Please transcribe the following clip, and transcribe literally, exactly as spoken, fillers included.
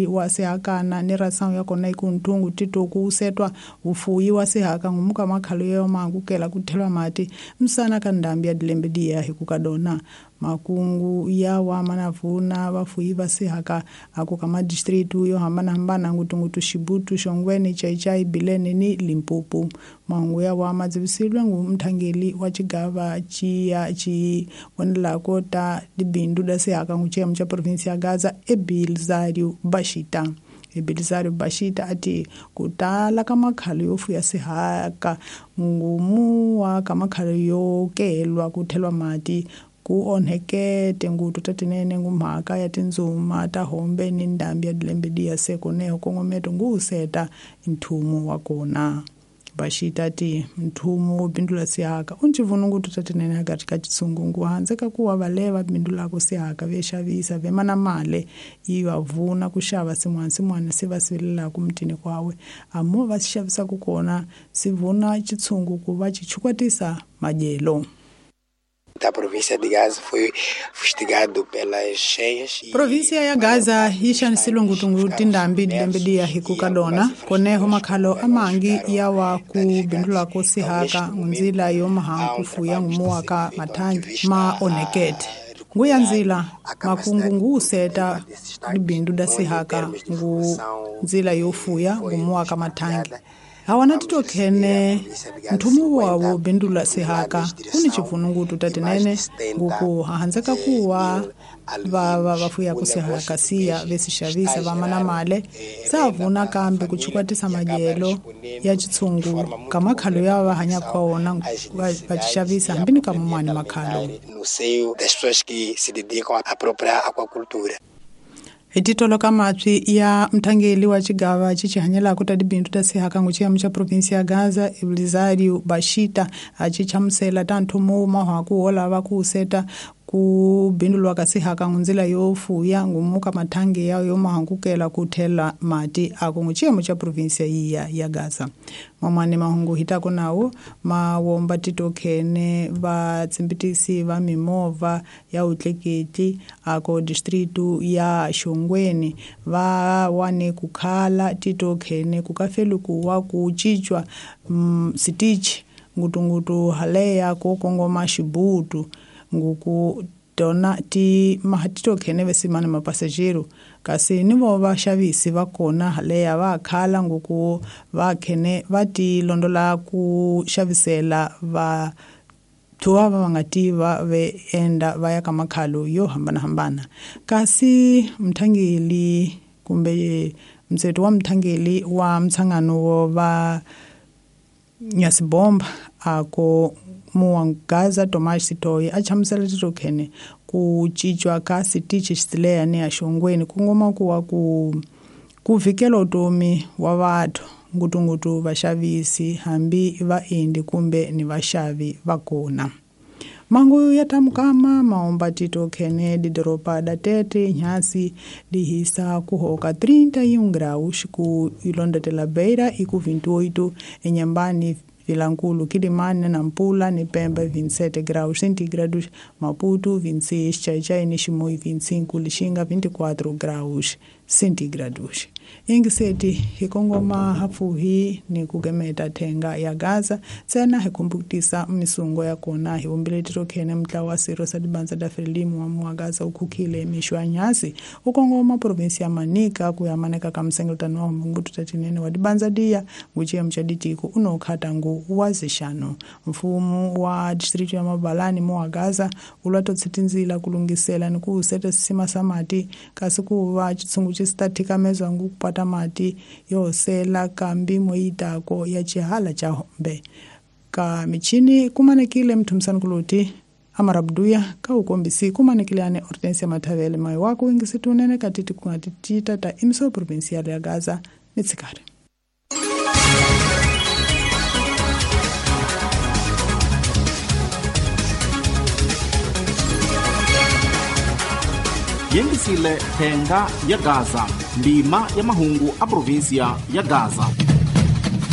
Wa sihakana ni rasangu ya kona ikunthungu titoku usetwa ufuyi wa sihaka ngumuka makhalo yo maangukela kuthelwa mati msana ka ndambi ya dilembe diya hikukadona makungu ya wa manavuna vafuyi va sihaka aku ka madistritu yo hambanahambana ngutungutu Xibutu, Xongweni, Chaichai, Bilene ni Limpopo. Mahungu ya wa madzivisilwe ngu mthangeli wa xigava ciya ci vonelako ta dibindu da sihaka ngu xiyemu xa provinsi ya Gaza Ebilzario Bashita. Ebilzario Bashita ati ku tala ka makhalo yo fuya sihaka ngumu wa ka makhalo yo kelwa ku thelwa mati ku onhekete ngutu tatinene ngumhaka ya tindzuma ta hombe ni ndambi ya dilembe diya seko neho kongometo nguuseta nthumu wa kona. Bashita ti nthumu wo bindula sihaka u ncivunu ngutu tatinene akati ka xitsungungu handze ka kuwa valeva bindulako sihaka ve xavisa ve mana male yi va vuna ku xava sin'wana sin'wana se va sivelelaka mutini kwawe amo va xi xavisaka kona si vuna xitshungu ku va xi chukwatisa madyelo. Da província de Gaza foi fustigado pelas cheias. Província ya Gaza yi xanisile ngutungu tindhambi dilembe diya hikukadona koneho makhalo amangi ya wa ku bindulako sihaka ngunzila yo mahangu kufuya ngumuwa ka mathangi ma onhekete nguya nzila makungu nguuseta libindu da sihaka ngu nzila yo fuya ngumuwa ka mathangi hawana titokhene nthumu wawo bindula sihaka kuni xivunungutu tatinene nguku hahandzeka kuwa va va vafuya ku sihaka siya ve si xavisa va mana male sa vuna kambe ku chukwatisa madyelo ya xitshungu ka makhalo ya va hanyaka ka wona va va xavisa hambi ni ka mumani makhalo. No seio das pessoas que se dedicam à própria aquacultura. Hi titolo ka matswi ya mthangeli wa xigava xi xi hanyelaka ta dibindu ta sihaka ngu xiyemu xa provinsi ya Gaza Eblizario Bashita a xi chamusela ta nthumu wu mahaku wo lava ku seta ku bindulwa ka sihaka ngunzila yo fuya ngumuka mathangi ya yo mahangukela ku thela mati aku ngu xiyemu xa provinsi ya ya Gaza. Mamane mahungu hitako nawo mawomba titokhene va tsimbitisi va mimovha ya utleketli ako distritu ya Xongweni va wane kukhala titokhene kukafeli kuwa ku cincwa mm, sitichi ngutungutu haleya ko kongoma Xibutu nguku tona ti mahatitokhene vesimana mapasajero kasi ni vo vaxavisi va kona haleya va khala nguku va khene va ti londola ku xavisela va thuwa va nga tiva ve enda va ya ka makhalo yo hambanahambana. Kasi mthangeli kumbe mtseto wa mthangeli wa mtshangano wo va Nyasibomba ako muwangaza Tomas Sitoyi a chamusela titokhene ku cincwa ka sitichi xisileya ni ya Xongweni ku ngoma kuwa ku ku vikela utomi wa vathu ngutungutu vaxavisi hambi vaendi kumbe ni vaxavi va kona. Mangu ya tamukama maomba titokhene didoropa da Tete nyasi dihisa kuhoka trinta e um graus ku ilondetela Beira e ku vinte e oito Inhambane, Vilankulu, Quilimane, Nampula, ni Pemba vinte e sete graus centígrados, Maputo vinte e seis, Xai-Xai, Chimoio vinte e cinco, Lixinga vinte e quatro graus centígrados. Ingiseti hikongoma hafuhi ni kugemeta thenga ya Gaza tsena hikumbukutisa misungo ya kona hivumbile titokhene mtla wa siro sa dibanza da Frelimu wa muwa Gaza ukhukhile mixwa nyasi ukongoma provinsi ya Manica kuyamaneka ka msengeltano wa mungutu tatinene wa dibanza diya nguchiyemu xa ditiko unokhata ngu wa zixano. Mfumo wa district ya Mabalani muwa Gaza ulwa totsitinzila kulungisela ni ku seta sisima sa mati kasi kuva xitshungu xi ta thikamezwa ngu kupata mati yo sela kambi moyitako ya xihala xa hombe ka michini kumanekile mthumisani kuloti amarabduya ka ukombisi kumanekile ane Hortensia Mathavele mayi wako ingisitunene katiti kungatitita ta imiso provincial ya Gaza mitsikari. Yengisile thenga ya Gaza ndima ya mahungu a provinsia ya Gaza.